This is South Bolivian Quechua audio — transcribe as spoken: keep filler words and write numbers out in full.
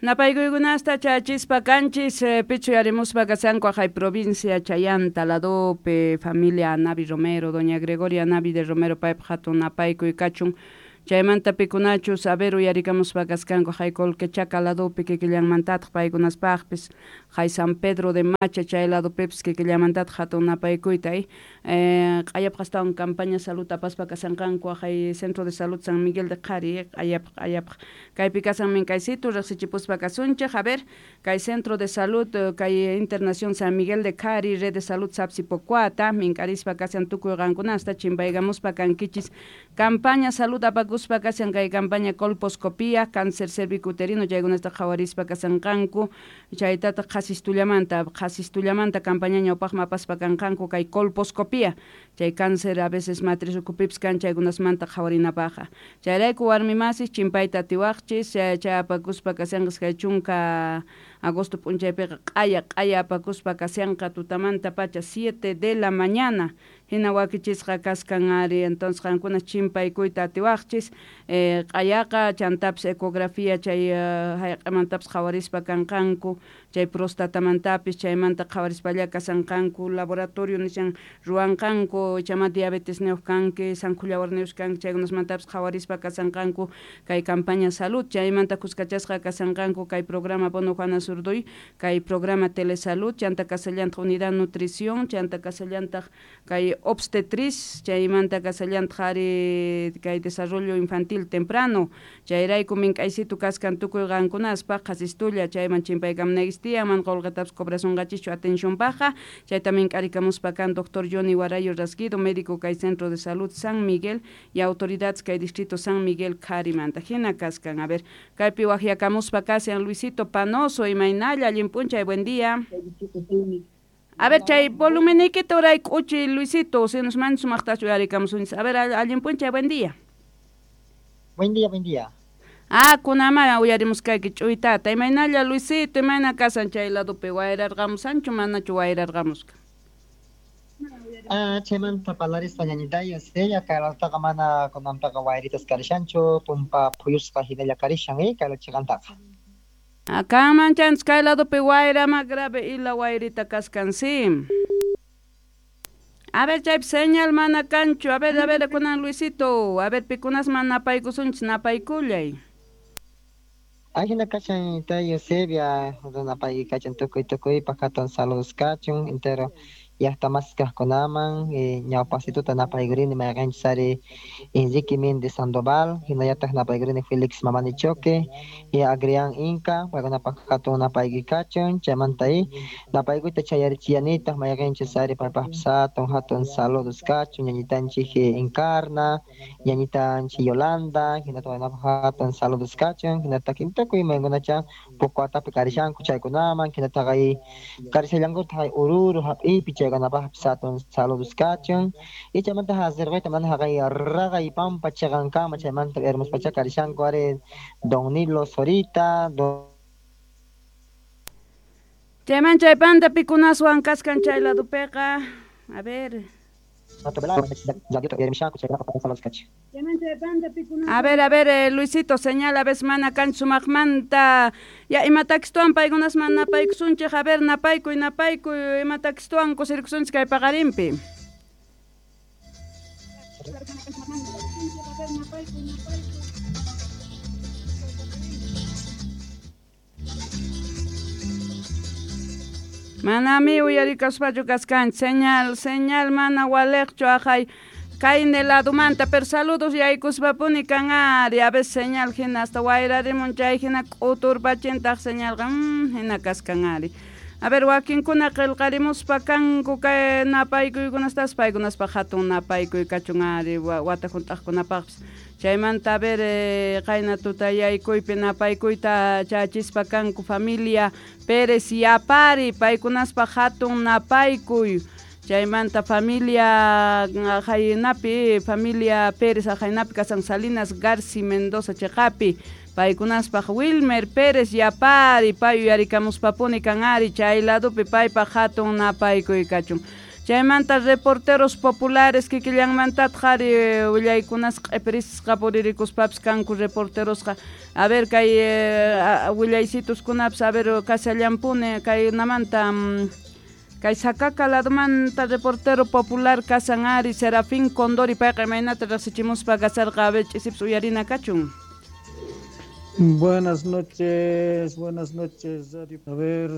Napaykuykunasta chachispa kanchis eh, pichu yarimuspa kashanku aqhay provincia Chayanta ladopi familia Navi Romero, doña Gregoria Navi de Romero paypaq hatun napaykuy kachun. Chaymanta pikunachus a ver uyarikamuspa kaskanku hay Colquechaca ladopi kikillanmantataq paykunaspaqpis hay San Pedro de Macha chay ladopipis kikillanmantataq hatun napaykuyta eh q'ayapaq astawan campaña salud apaspa kasanqanku hay Centro de Salud San Miguel de Qhari q'ayapaq q'ayapaq kaypi kasan minkaysitu riqsichipuspa kasunchik a ver kay Centro de Salud kay Internación San Miguel de Qhari Red de Salud Sapsipocuata mink'arispa kasan tukuy qankunasta chimpaykamuspa kankichis campaña salud apakuspa kasan kay campaña colposcopía, cáncer cervicuterino, chaykunasta qhawarispa kasanqanku, chaytataq qhasistullamanta, qhasistullamanta campaña ñawpaqman apaspa kanqanku kay colposcopía, chay cáncer a veces matriz ukupipis kan chaykunasmanta qhawarinapaqqa. Chayrayku warmi masis chimpayta atiwaqchis, chay apakuspa kasanqas kay chunka agosto p'unchaypiqa q'aya q'aya apakuspa kasanqa tutamanta pacha siete de la mañana hina wakichisqa kaskan ari entonces qankuna chimpaykuyta atiwaqchis eh, q'ayaqa chantapis ecografía chay hayq'amantapis qhawarispa kanqanku chay prostatamantapis chaymanta qhawarispalla kasanqanku laboratorio nishan ruwanqanku chama diabetes niyuq kanki sankhullawarniyuq kanki chaykunasmantapis qhawarispa kasanqanku kay campaña salud chaymanta kuskachasqa kasanqanku kay programa Bono Juana Zurduy kay programa telesalud chanta kasallantaq unidad nutrición chanta kasallantaq kay obstetriz chaymanta kasallantaq ari kay desarrollo infantil temprano chayrayku mink'aysitu kaskan tukuy qankunaspaq qhasistulla chayman chimpaykamunaykichis man qolqetapis cobrasunqachischu atencionpaqqa chayta mink'arikamuspa kan doctor Johnny Guarayo Rasguido médico kay Centro de Salud San Miguel y autoridades kay distrito San Miguel Qharimanta hina kaskan a ver kaypi waqyakamuspa kashan Luisito Panoso imaynalla allin p'unchay buen día. A ver, chay volumenikita uray k'uchi Luisito, si nos mandas sumaqtachu uyarikamusunchis. A ver, allin p'unchay, buen día. Buen día, buen día. Ah, kunamara uyarimuskayki ch'uytata. Imaynalla Luisito, imayna kasan chay ladopi wayrarqamusanchu manachu wayrarqamusqa? Ah, chaymanta parlarispa ñañitay Eusebia, kay ladutaqa mana kunanpiqa wayritas karishanchu, tumpa phuyusqa hinalla karishan eh, kay chiqantaqa. Acá chanchis kay ladopi wayra ma grave ila wayrita kaskan sí. A ver chaypi señal mana kanchu, a ver, a ver kunan Luisito, a ver pikunasman napaykusunchis napaykullay. Ajina kachan tay Eusebia, napay kachan tukuy tukuypaq hatun saludos kachun entero llaqta kaqkunaman ñawpaqsituta napaykurini mayqinchis ari Enrique Méndez Sandoval hinallataq napaykurini Felix Mamani Choque y Agrián Inca paykunapaq hatun napaykuy kachun chaymanta napaykuyta chayarichiyanitaq mayqinchis ari paypaqpis hatun hatun saludos kachun ñañitanchik Encarna ñañitanchik Yolanda hinataq paykunapaq hatun saludos kachun hinataq tukuy maykunacha Pucuatapi karishanku chaykunaman hinataq karishallankutaq Oruro hap'ipi chay paykunapaqpis hatun saludos kachun y chaymanta hasirqayta mana haqay raqay pampa chiqankama chaymanta hermospacha karishanku ari Don Nilo Zorita don Chayman chaypanta pikunaswan kaskan chay ladopiqa a ver. A ver, a ver, eh, Luisito, señala vez mana kanchu sumaqmanta ya imatakstuan paykunasman napaykusunchik a ver napaykuy napaykuy imatakstuan kusirkusunchik kay paqarinpi. Manami uyarikaspachu kaskanchik señal, señal mana waliqchu aqhay kayni ladomanta pero saludos yaykuspapuni kan ari a veces señal hina hasta wayrarimun chay hina k'uturpachintaq señalqa mm, hina kaskan ari. A ver wakinkuna qillqarimuspa kanku kay napaykuykunastas paykunaspaq hatun napaykuy kachun ari wata hunt'aqkunapaqpis chaymanta a ver eh, qayna tutayaykuypi napaykuyta chachispa kanku familia Pérez Yapari paykunaspaq hatun napaykuy chaymanta familia Jaynapi familia Pérez Jaynapi kasan Salinas Garci Mendoza chiqapi paykunaspaq Wilmer Pérez Yapari pay uyarikamuspapuni kan ari chay ladopi paypaq hatun napaykuy kachun. Chaymanta reporteros populares kikillanmantataq ari willaykunas q'ipirisqa puririkuspapis kanku reporterosqa. A ver kay willaysituskunapis a ver kashallampuni kaynamanta kay Sacaca ladomanta reportero popular kasan ari Serafín Condori payqa imaynata riqsichimuspa kasarqa a ver ch'isipis uyarina kachun. Buenas noches, buenas noches, Radio. A ver,